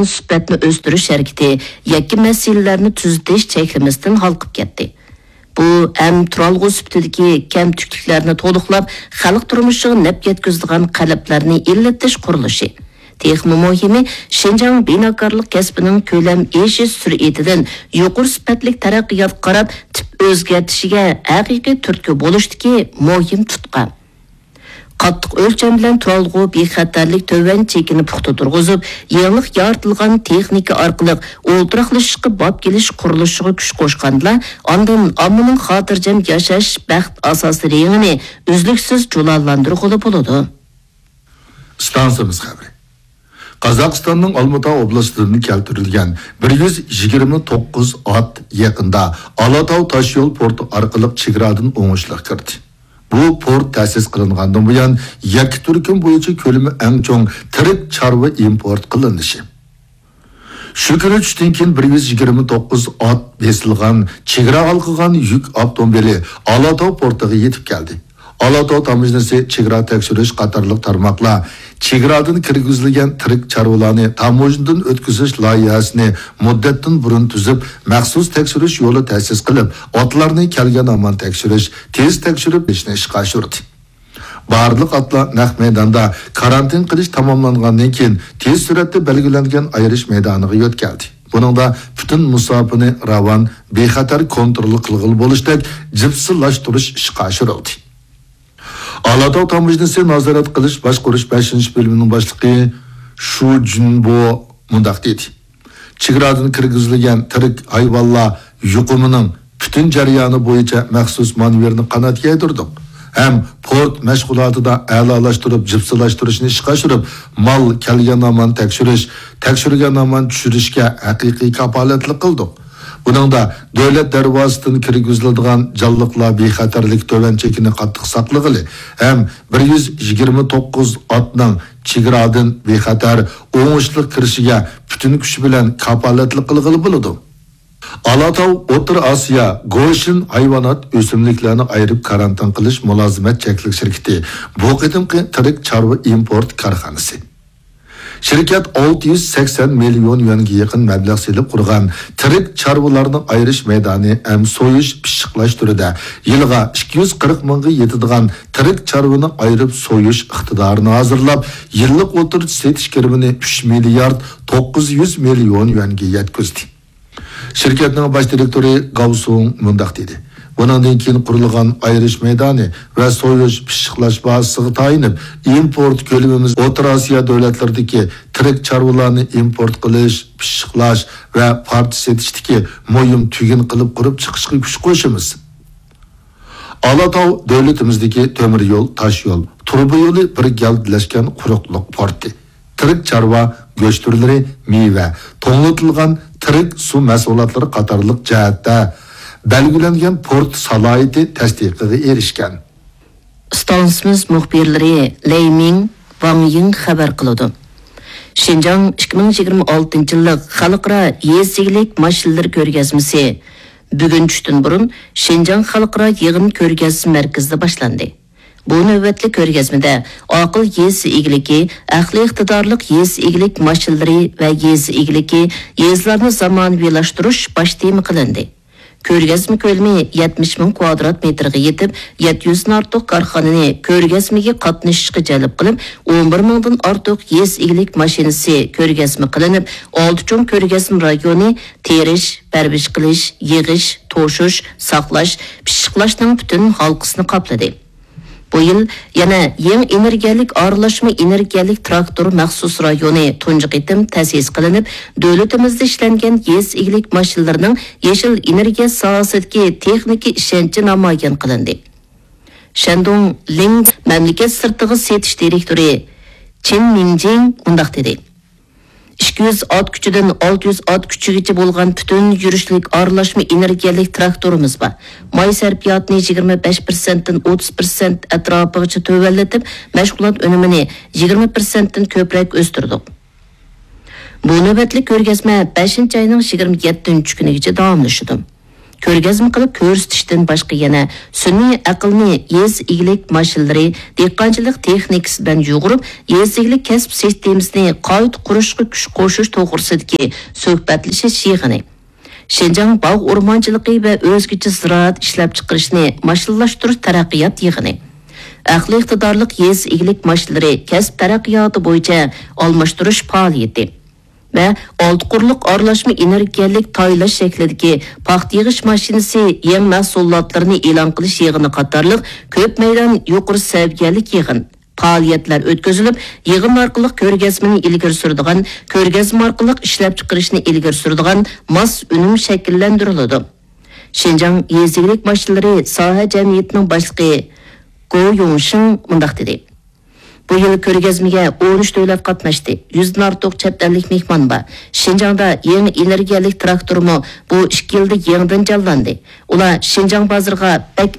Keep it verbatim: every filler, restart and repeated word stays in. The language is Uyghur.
سۈپەتنى ئۆستۈرۈش ھەرىكىتى يەككە مەسىلىلەرنى تۈزىتىش چەكلىمىسىدىن ھالقىپ كەتتى. بۇ ھەم تۇرالغۇ سۈپىتىدىكى كەمتۈكلۈكلەرنى تولۇقلاپ، خەلق تۇرمۇشىغا نەپ يەتكۈزىدىغان قەلبلەرنى ئىللىتىش قۇرۇلۇشى. تېخىمۇ مۇھىمى، شىنجاڭ بىناكارلىق كەسپىنىڭ كۆلەم ئېشىش سۈرئىتىدىن يۇقىرى سۈپەتلىك تەرەققىياتقا قاراپ تىپ ئۆزگەرتىشىگە ھەقىقىي تۈرتكە بولۇشتىكى مۇھىم تۇتقا. قاتتىق ئۆلچەم بىلەن تۇرالغۇ بىخەتەرلىك تۆۋەن چېكىنى پۇختا تۇرغۇزۇپ، يېڭىلىق يارىتىلغان تېخنىكا ئارقىلىق ئولتۇراقلىشىشقا باب كېلىش قۇرۇلۇشىغا كۈچ قوشقاندىلا، ئاندىن ئاممىنىڭ خاتىرجەم ياشاش بەخت ئاساسىي رېڭىنى ئۈزلۈكسىز جۇلالاندۇرغىلى بولىدۇ. ئىستانسىمىز خەۋىرى. قازاقىستاننىڭ ئالمۇتا ئوبلاستىدىن كەلتۈرۈلگەن بىر يۈز يىگىرمە توققۇز ئات يېقىندا ئالاتاۋ تاشيول پورتى ئارقىلىق چېگرادىن ئوڭۇشلۇق كىردى. بۇ پورت تەسىس قىلىنغاندىن بۇيان، يەككە تۈركۈم بويىچە كۆلىمى ئەڭ چوڭ تىرىك چارۋا ئىمپورت قىلىنىشى. شۇ كۈنى چۈشتىن كېيىن بىر يۈز يىگىرمە توققۇز ئات بېسىلغان، چېگرا ھالقىغان يۈك ئاپتوموبىلى ئالاتاۋ پورتىغا يېتىپ كەلدى. ئالاتاۋ تاموژنىسى چېگرا تەكشۈرۈش قاتارلىق تارماقلار چېگرادىن كىرگۈزۈلگەن تىرىك چارۋىلارنى تاموژنىدىن ئۆتكۈزۈش لايىھەسىنى مۇددەتتىن بۇرۇن تۈزۈپ، مەخسۇس تەكشۈرۈش يولى تەسىس قىلىپ، ئاتلارنى كەلگەن ھامان تەكشۈرۈش، تېز تەكشۈرۈپ بېرىشنى ئىشقا ئاشۇردى. بارلىق ئاتلار نەق مەيداندا كارانتىن قىلىش تاماملانغاندىن كېيىن، تېز سۈرئەتتە بەلگىلەنگەن ئايرىش مەيدانىغا يۆتكەلدى. بۇنىڭدا پۈتۈن مۇساپىنى راۋان، بىخەتەر كونترول قىلغىلى بولۇشتەك جىپسىلاشتۇرۇش ئىشقا ئاشۇرۇلدى. ئالاتاۋ تاموژنىسى نازارەت قىلىش باشقۇرۇش بەشىنچى بۆلۈمىنىڭ باشلىقى شۇ جۈنبو مۇنداق دېدى: چېگرادىن كىرگۈزۈلگەن تىرىك ھايۋانلار يۇقۇمىنىڭ پۈتۈن جەريانى بويىچە مەخسۇس مانېۋىرنى قانات يايدۇردۇق ھەم پورت مەشغۇلاتىدا ئەلالاشتۇرۇپ جىپسىلاشتۇرۇشنى ئىشقا ئاشۇرۇپ، مال كەلگەن ھامان تەكشۈرۈش، تەكشۈرگەن ھامان چۈشۈرۈشكە ھەقىقىي كاپالەتلىك قىلدۇق. بۇنىڭدا دۆلەت دەرۋازىسىدىن كىرگۈزۈلىدىغان جانلىقلار بىخەتەرلىك تۆۋەن چېكىنى قاتتىق ساقلىغىلى ھەم بىر يۈز يىگىرمە توققۇز ئاتنىڭ چېگرادىن بىخەتەر، ئوڭۇشلۇق كىرىشىگە پۈتۈن كۈچ بىلەن كاپالەتلىك قىلغىلى بولىدۇ. ئالاتاۋ ئوتتۇرا ئاسىيا گوشىن ھايۋانات ئۆسۈملۈكلەرنى ئايرىپ كارانتىن قىلىش مۇلازىمەت چەكلىك شىركىتى بۇ قېتىمقى تىرىك چارۋا ئىمپورت كارخانىسى. شىركەت ئالتە يۈز سەكسەن مىليون يۈەنگە يېقىن مەبلەغ سېلىپ قۇرغان تىرىك چارۋىلارنى ئايرىش مەيدانى ھەم سويۇش، پىششىقلاش تۈرىدە يىلىغا ئىككى يۈز قىرىق مىڭغا يېتىدىغان تىرىك چارۋىنى ئايرىپ سويۇش ئىقتىدارىنى ھازىرلاپ، يىللىق ئوتتۇرىچە سېتىش كىرىمىنى ئۈچ مىليارد توققۇز يۈز مىليون يۈەنگە يەتكۈزدى. شىركەتنىڭ باش دىرېكتورى گاۋ سۇڭ مۇنداق دېدى: بۇنىڭدىن كېيىن قۇرۇلغان ئايرىش مەيدانى ۋە سويۇش، پىششىقلاش بازىسىغا تايىنىپ، ئىمپورت كۆلىمىمىز ئوتتۇرا ئاسىيا دۆلەتلىرىدىكى تىرىك چارۋىلارنى ئىمپورت قىلىش، پىششىقلاش ۋە پارچە سېتىشتىكى مۇھىم تۈگۈن قىلىپ قۇرۇپ چىقىشقا كۈچ قوشىمىز. ئالاتاۋ دۆلىتىمىزدىكى تۆمۈر يول، تاش يول، تۇرۇبا يولى بىر گەۋدىلەشكەن قۇرۇقلۇق پورتى. تىرىك چارۋا گۆش تۈرلىرى، مېۋە، توڭلىتىلغان تىرىك سۇ مەھسۇلاتلىرى قاتارلىق جەھەتتە بەلگىلەنگەن پورت سالاھىيىتى تەستىقىغا ئېرىشكەن. ئىستانسىمىز مۇخبىرلىرى لەي مىڭ، ۋاڭ يىڭ خەۋەر قىلىدۇ. شىنجاڭ ئىككى مىڭ يىگىرمە ئالتىنچى يىللىق خەلقئارا يېزا ئىگىلىك ماشىنىلىرى كۆرگەزمىسى بۈگۈن چۈشتىن بۇرۇن شىنجاڭ خەلقئارا يىغىن كۆرگەزمە مەركىزىدە باشلاندى. بۇ نۆۋەتلىك كۆرگەزمىدە ئاقىل يېزا ئىگىلىكى، ئەقلىي ئىقتىدارلىق يېزا ئىگىلىك ماشىنىلىرى ۋە يېزا ئىگىلىكى، يېزىلارنى زامانىۋىلاشتۇرۇش باش تېما قىلىندى. كۆرگەزمە كۆلىمى يەتمىش مىڭ كۋادرات مېتىرغا يېتىپ، يەتتە يۈزدىن ئارتۇق كارخانىنى كۆرگەزمىگە قاتنىشىشقا جەلپ قىلىپ، ئون بىر مىڭدىن ئارتۇق يېزا ئىگىلىك ماشىنىسى كۆرگەزمە قىلىنىپ، ئالتە چوڭ كۆرگەزمە رايونى تېرىش، پەرۋىش قىلىش، يىغىش، توشۇش، ساقلاش، پىششىقلاشنىڭ پۈتۈن ھالقىسىنى قاپلىدى. بۇ يىل يەنە يېڭى ئېنېرگىيەلىك ئارىلاشما ئېنېرگىيەلىك تىراكتور مەخسۇس رايونى تۇنجى قېتىم تەسىس قىلىنىپ، دۆلىتىمىزدە ئىشلەنگەن يېزا ئىگىلىك ماشىنىلىرىنىڭ يېشىل ئېنېرگىيە ساھەسىدىكى تېخنىكا ئىشەنچى نامايان قىلىندى. شەندۇڭ لىڭ مەملىكەت سىرتىغا سېتىش دىرېكتورى چېن مىڭجىڭ مۇنداق دېدى: ئىككى يۈز ئات كۈچىدىن ئالتە يۈز ئات كۈچىگىچە بولغان پۈتۈن يۈرۈشلۈك ئارىلاشما ئېنېرگىيەلىك تىراكتورىمىز بار. ماي سەرپىياتىنى يىگىرمە بەش پىرسەنتتىن ئوتتۇز پىرسەنت ئەتراپىغىچە تۆۋەنلىتىپ، مەشغۇلات ئۈنۈمىنى يىگىرمە پىرسەنتتىن كۆپرەك ئۆستۈردۇق. بۇ نۆۋەتلىك كۆرگەزمە بەشىنچى ئاينىڭ يىگىرمە يەتتىنچى كۈنىگىچە داۋاملىشىدۇ. كۆرگەزمە قىلىپ كۆرسىتىشتىن باشقا يەنە سۈنئىي ئەقىلنى يېزا ئىگىلىك ماشىنىلىرى، دېھقانچىلىق تېخنىكىسى بىلەن يۇغۇرۇپ، يېزا ئىگىلىك كەسىپ سىستېمىسىنى قايتا قۇرۇشقا كۈچ قوشۇش توغرىسىدىكى سۆھبەتلىشىش يىغىنى، شىنجاڭ باغ ئورمانچىلىقى ۋە ئۆزگىچە زىرائەت ئىشلەپچىقىرىشنى ماشىنىلاشتۇرۇش تەرەققىيات يىغىنى، ئەقلىي ئىقتىدارلىق يېزا ئىگىلىك ماشىنىلىرى كەسىپ تەرەققىياتى بويىچە ئالماشتۇرۇش پائالىيىتى ۋە ئالتە قۇرلۇق ئارىلاشما ئېنېرگىيەلىك تايلاش شەكلىدىكى پاختا يىغىش ماشىنىسى يېڭى مەھسۇلاتلىرىنى ئېلان قىلىش يىغىنى قاتارلىق كۆپ مەيدان يۇقىرى سەۋىيەلىك يىغىن، پائالىيەتلەر ئۆتكۈزۈلۈپ، يىغىن ئارقىلىق كۆرگەزمىنى ئىلگىرى سۈرىدىغان، كۆرگەزمە ئارقىلىق ئىشلەپچىقىرىشنى ئىلگىرى سۈرىدىغان ماس ئۈنۈم شەكىللەندۈرۈلىدۇ. شىنجاڭ يېزا ئىگىلىك ماشىنىلىرى ساھە جەمئىيىتىنىڭ باشلىقى گو يۇڭشىڭ مۇنداق دېدى: بۇ يىل كۆرگەزمىگە ئون ئۈچ دۆلەت قاتناشتى، يۈزدىن ئارتۇق چەت ئەللىك مېھمان بار. شىنجاڭدا يېڭى ئېنېرگىيەلىك تىراكتورمۇ بۇ ئىككى يىلدا يېڭىدىن جانلاندى. ئۇلار شىنجاڭ بازىرىغا بەك